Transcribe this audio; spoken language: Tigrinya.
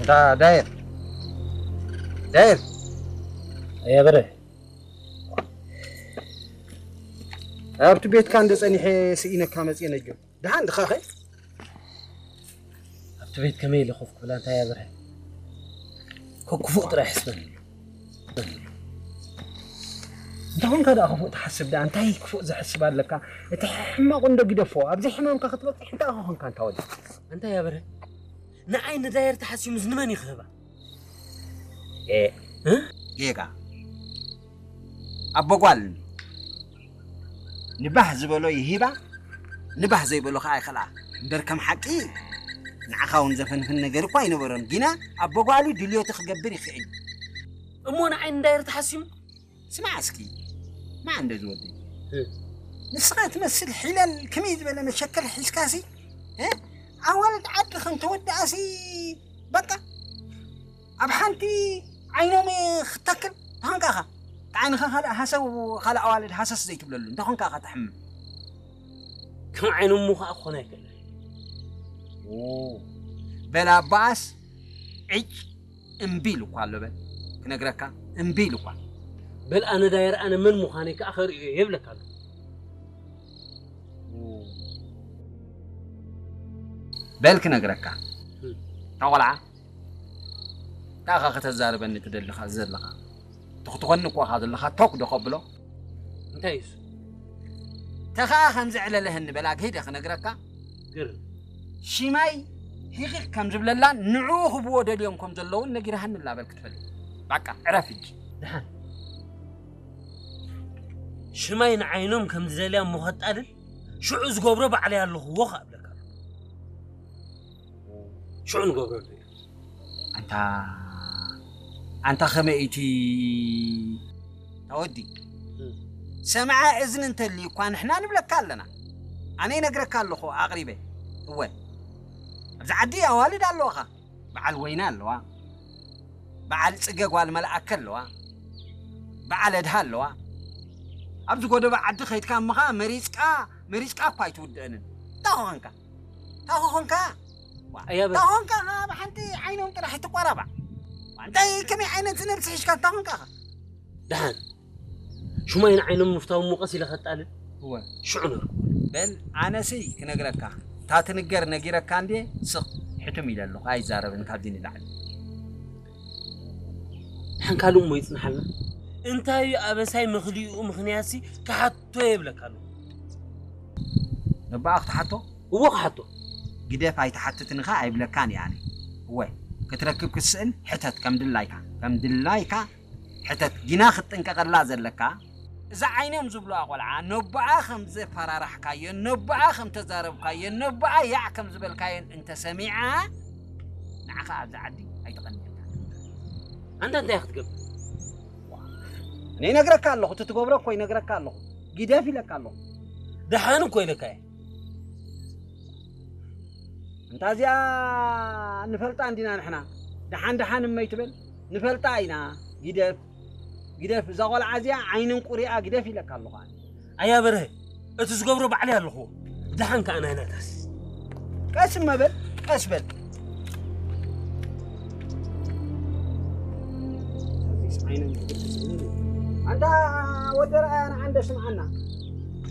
ዳ-፣ ዳየር፣ ዳየር። ኣያ በረ። ኣብቲ ቤትካ እንደ ጸኒሐ ስኢነካ መጽየ ነጆ። ደሓን ድኻ ኸ? ኣብቲ ቤት ከመይ ኢለ ኮፍ ክብል፣ ኣንታ ኣያ በረ? ኮ-፣ ክፉእ ጥራይ ሕስበኒ። እንታይ ኾንካ ደኣ ክፉእ ትሓስብ ደኣ? እንታይ ክፉእ ዘሕስብ ኣለካ? እቲ ሕማቕ እንዶ ግደፎ። ኣብዚ ሕማምካ ክትበጽሕ እንታይ ኾንካ፣ እንታ ወዲ? ኣንታ ኣያ በረ? ንዓይ ንዳየር ተሓሲሙስ ንመን እዩ ክህባ? ኤ፣ እ? ጌጋ። ኣቦ ጓል ንባህ ዝበሎ ይሂባ፣ ንባህ ዘይበሎ ኸዓ ይኸልኣ። እምበር ከም ሓቂ ንዓኻ እውን ዘፈንፍን ነገር እኳ ኣይነበሮን። ግና ኣቦ ጓሉ ድልዮቱ ክገብር ይኽእል። እሞ ንዓይ ንዳየር ተሓሲሙ? ስማዕ እስኪ፣ ማዕ እንደ ዝወደይ። እ። ንስኻ ትመስል ሒለል ከመይ ዝበለ መሸከል ሒዝካሲ፣ እ? ኣዋልድ ዓዲ ከም ተወድኣሲ፣ በቃ፣ ኣብ ሓንቲ ዓይኖም ክትተክል፣ እንታይ ኾንካ ኢኻ? እቲ ዓይንኻ ካልእ ሃሰው፣ ካልእ ኣዋልድ ሃሰስ ዘይትብለሉ፣ እንታይ ኾንካ ኢኻ ትሕምም? ከም ዓይኖም ምዃእ ክኾን ኣይክእልን። ኦ፣ በል ኣባኣስ፣ ዕጭ እምቢ ኢሉ እኳ ኣሎ፣ በል፣ ክነግረካ፣ እምቢ ኢሉ እኳ። በል ኣነ ዳየር ኣነ መን ምዃነይ ከኣ ከርእዮ እየ ይብለካ ኣሎ። በል ክነግረካ። እም። እታ ቆልዓ፣ እንታይ ኢኻ ከተዛርበኒ ትደልኻ ዘለኻ? ትኽትኾኒ እኮ ኢኻ ዘለኻ፣ ቶክ ዶ ከብሎ? እንታይ እዩ እሱ? ተኸኣ ከም ዘዕለለህኒ በላ ከይደ ክነግረካ። ግርም። ሽማይ ሂኺኽ ከም ዝብለላን ንዕኡ ክብዎ ደልዮም ከም ዘለውን ነጊርሃኒ ኣላ በል ክትፈልጥ። በቃ፣ ዕረፍ ሕጂ። ደሓን። ሽማይ ንዓይኖም ከም ዝደልያ እሞ ከጣልል፣ ሽዑ ዝገብሮ ባዕለይ ኣለኹዎ ከኣ እብለካ ኣለኹ። ሽዑ ንገብረሉ ኢና። ኣንታ፣ ኣንታ ከመይ እቲ ተወዲ? እም። ሰምዓ እዝኒ እንተልዩ እኳ ንሕና ንብለካ ኣለና። ኣነ ይነግረካ ኣለኹ ኣቕሪበ። እወ፣ ኣብዚ ዓዲ ኣዋልድ ኣለዋኻ። በዓል ወይኒ ኣለዋ። በዓል ጽገ ጓል መልኣከ ኣለዋ። በዓል ኣድሃ ኣለዋ። ኣብዚ ጎደቦ ዓዲ ከይድካ እሞ ኸኣ መሪጽካ፣ መሪጽካ እኳ ኣይትውድእንን። እንታይ ኾንካ? እንታይ ኾንካ? ዋ፣ ኣያ በ- እንታይ ኾንካ? ኸኣ ብሓንቲ ዓይኖም ጥራሕ ትቆራባዕ። እንታይ ከመይ ዓይነት ነብሲ ሒዝካ እንታይ ኾንካ ኸ? ደሓን። ሽማይ ንዓይኖም ምፍታው እሞ ቀስ ኢለ ከጣልል። እወ። ሽዑ ነርኩ። በል፣ ኣነሲ ክነግረካ። እታ ትንገር ነጊረካ እንዴ? ስቕ፣ ሕትም ኢለ ኣለኹ። ኣይዛረብን ካብዚ ንላዕሊ። ደሓን ካልእ እሞ ይጽንሓልና። እንታይ እዩ ኣበሳይ መኽሊኡ ምኽንያትሲ ክሓቶ የብለካ ኣለኹ። ነባኣ ክትሓቶ? እዎ ክሓቶ። ግደፍ ኣይትሓትትን ኢኻ ኣይብለካን እየ ኣነ። እወ፣ ክትረክብ ክትስእን ሕተት ከም ድላይካ። ከም ድላይካ ሕተት። ግና ክትጥንቀቐላ ዘለካ፣ እዛ ዓይኖም ዝብልዋ ቆልዓ ነቦኣ ከም ዘፈራራሕካዮን ነቦኣ ከም ተዛረብካዮን ነቦኣ ያዕ ከም ዝበልካዮን እንተሰሚዓ፣ ንዓኻ ኣብዚ ዓዲ ኣይትቐንየልካን። ኣንታ እንታይ ክትገብር? እኔ ይነግረካ ኣለኹ፣ እቲ ትገብሮ እኮ ይነግረካ ኣለኹ። ግደፍ ኢለካ ኣለኹ። ደሓን እኮ ኢለካ እየ። እንታ እዚኣ ንፈልጣ እንዲና ንሕና። ደሓን ደሓን እመይ ትብል? ንፈልጣ ኢና። ግደፍ፣ ግደፍ፣ እዛ ቆልዓ እዚኣ ዓይንን ቁሪኣ ግደፍ ኢለካ ኣለኹ ኣነ። ኣያ በርሀ፣ እቲ ዝገብሮ ባዕለይ ኣለኹዎ። ደሓን ከኣ ናይ ናታስ። ቀስ እመ በል፣ ቀስ በል። ኣንታ ወዲ ረኣያ ንዓንደ ስምዓና።